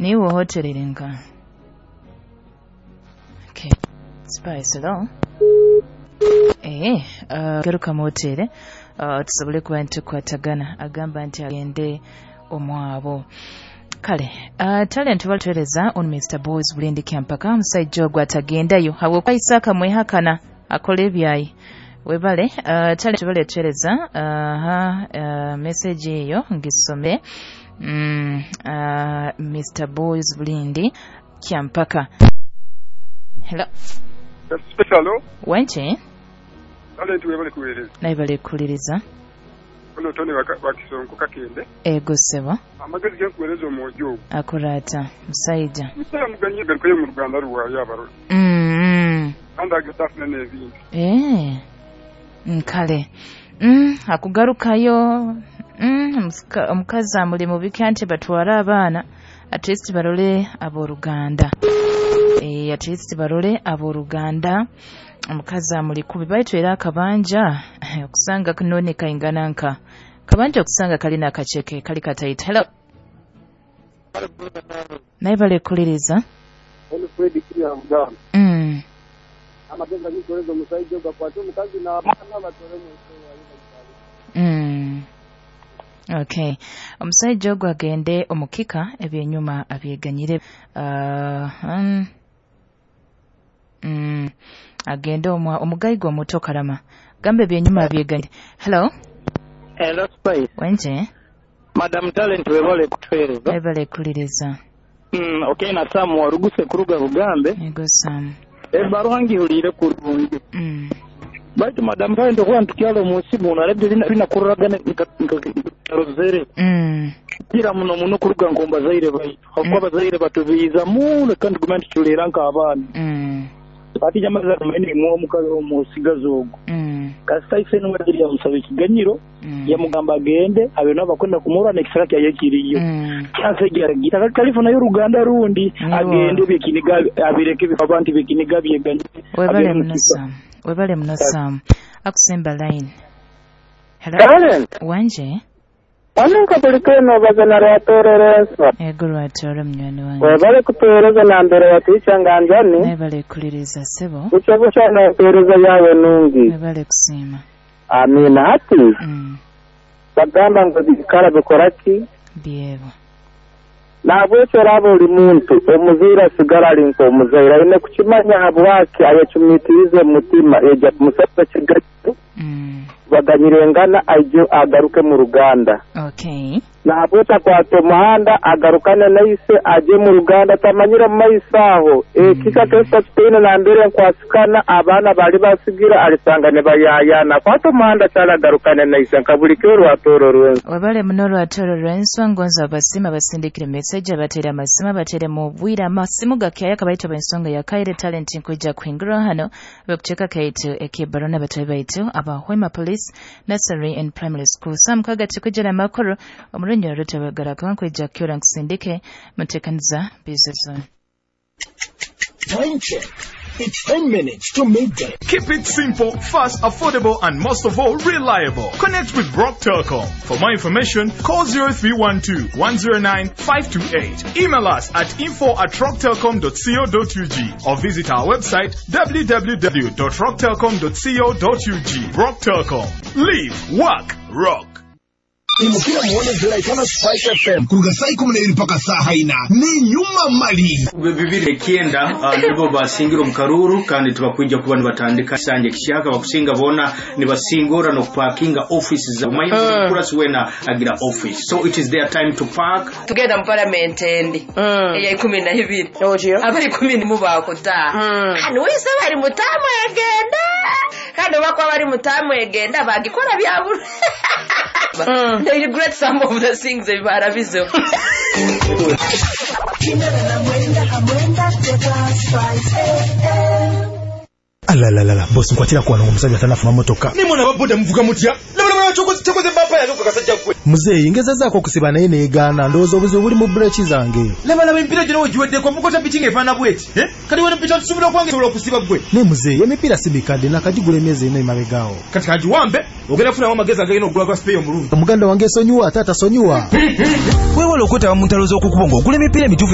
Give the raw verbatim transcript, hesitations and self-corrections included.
Niiwe hotel eri nka? Okay. Spice, hello. Eh, uh, garuka mu hotel uh, tusobole kuba nitukwatagana. Agamba nti agende omwabo. Kale uh, Talent batwereza on Mister Boys Bulindi Kyampaka, omusajja ogwo atagendayo habwokuba Isaka mwehakana akola ebyayi. Webale uh, Talent baletwereza aha uh, uh, message eyo ngisome. mm, uh, Mister Boys Bulindi Kyampaka, hello. Hello. Wenche. Talent, webale kuweereza. Naye balekuliriza. Ono Tony Wakisonko Kakende. Ego ssebo. Amagezi genkuweereza, omwojo ogwo Akurata musajja. Musajja muganye garukayo mu Ruganda rwayo abarora mm, mm. kandi agenda afuna n'ebintu. Eh, nkale mm, akugarukayo mm, omusika- omukazi amuli mubiki anti batware abaana, at least barole abooluganda. Eh, at least barole abooluganda. Omukazi amuli kubi baitu era akabanja okusanga none kaingana nka kabanja okusanga kalina akaceke kali kataita. Hello, naye balekuliriza. Ono Fred Kiriya Muganda. mm. Amagezi agikuweereza, omusajja ogwo akwate omukazi n'abaana batwale mu nsi eyayo bagitwale. Mm. Okay. Omusajja ogwo agende omukika, ebyenyuma abyeganyire. Uh, mm, mm, agende omwa omugayiga omuto kalama gamba ebyenyuma abyeganyire. Hello. Hello, Spice. Wenje. Madam Talent, webale kutuweereza. Webale kuliriza. Mm, okay, na Sam waruguse kuruga Bugambe. Ego Sam. Ebbaruha ngihuliire kurungi. Mm. Baitu Madam Talent, okuba ntukyala omunsi muno arebye binakururagana nkarozere. Mm. Kira muno muno kuruga nkombazaire baitu. Hakuba abazaire batubiiza muno kandi tuguma ntuculeera nk'abaana. Mm. Ati nyamaza tumaine mwo omukazi omusigazi ogwo. Mm. Kasita ise niwe yamusaba ekiganyiro, Mm. yamugamba agende abe nabo bakwenda kumurwa n'ekisaka kyaye kiriyo. Mm. Kyasegera kalifunayo uruganda rundi. Niwo. Agende byekiniga abireke abantu byekiniga byeganye. Webale abe muno mukika. Sam. Webale muno Sam. Akusemba line. Hello. Talent, Wanje. waninka buli keno obaza rwatorera enswa. Ego Rwatoro, munywani wange. Webale kutuweereza nambere watiica nganjani. Naye balekuliriza ssebo. Bucha bucha nempeereza yawe nungi. Webale kusiima. Amiina. Hati Mm. bagamba ngu bikara bikora ki? Byebo. Nabwekyo oraba oli muntu omuzaire asigara ali nk'omuzaire aine kukimanya habwaki ayecumitirize omutima ejja kumusaba ekiganyiro, Mm. baganyirengana, aije agaruke mu Ruganda. Okay. Nahabwekyo akwata omuhanda agarukane naise aje mu Ruganda tamanyire mu maiso aho ekika kesa kitaine nambere nkwasikana abaana bali basigira alisanga ne bayayana. Akwata omuhanda kyali agarukane naise nka buli kiro. Rwatooro rwensi. Webale muno Rwatoro lwenswa. Ngonza abasiima basindikire message, abateere amasimu, abateere mu bwire amasimu gakyaya kabaita bensonga ya Kaire. Talent nkwija kuhingura hano bekucheka kaitu ekibarona batabe baitu aba Hoima Police Nursery and Primary School sam kaga tukujja amakuru omurunyo rutabagara nkwija kyora nkusindike mutekaniza bizuzo. Time check. It's ten minutes to midday. Keep it simple, fast, affordable, and most of all, reliable. Connect with Rock Telcom. For more information, call zero three one two one zero nine five two eight. Email us at info at rocktelcom dot co dot U G or visit our website w w w dot rocktelcom dot co dot U G. Rock Telcom. Live, work, rock. Imukira muone ziraikana Spice F M kuruga saa ikumi na ibiri mpaka saa haina ni nyuma mali. Bibiri ekyenda uh, nibo basingira omu karuru kandi tibakwija kuba nibatandika sanja kishaka bakusinga bona nibasingora nokupakinga office za mm. Kurasi wena agira office, so it is their time to park. Tugenda mu parliament endi eya ikumi na ibiri, abari ikumi nimu bakutaha hano wese bari mutamu egenda kandi bakuba bari mutamu egenda bagikora byabura. They regret some of the things barabizeho. Mwenda Spice F M. Alalalala, bosi, nkwatira kuwano omusajja tanafuna motoka. Nimwe nababoda muvuga mutya? Kyokoze bapa yange kasajja gwe. Muzeeyi, ngezezaako okusiba naye neegaana. Ndowooza obuzibu buli mu bureki zange. Labalaba emipiira gyona wegiweddeko mukota piki ng'efaanana bweti. Eh? Kati wena mpita tusobola okwange sobola okusiba gwe? Naye muzeeyi, emipiira si mikadde, nakagigula emyezi ena emabegaawo. Kati kagiwambe ogenda kufunamu amagezi agagenda okugula gwa sipeeyo omulungi. Muganda wange esonyiwa, ate atasonyiwa. Weewala okwetaba mu ntalo z'okukubo ng'ogula emipiira emituufu.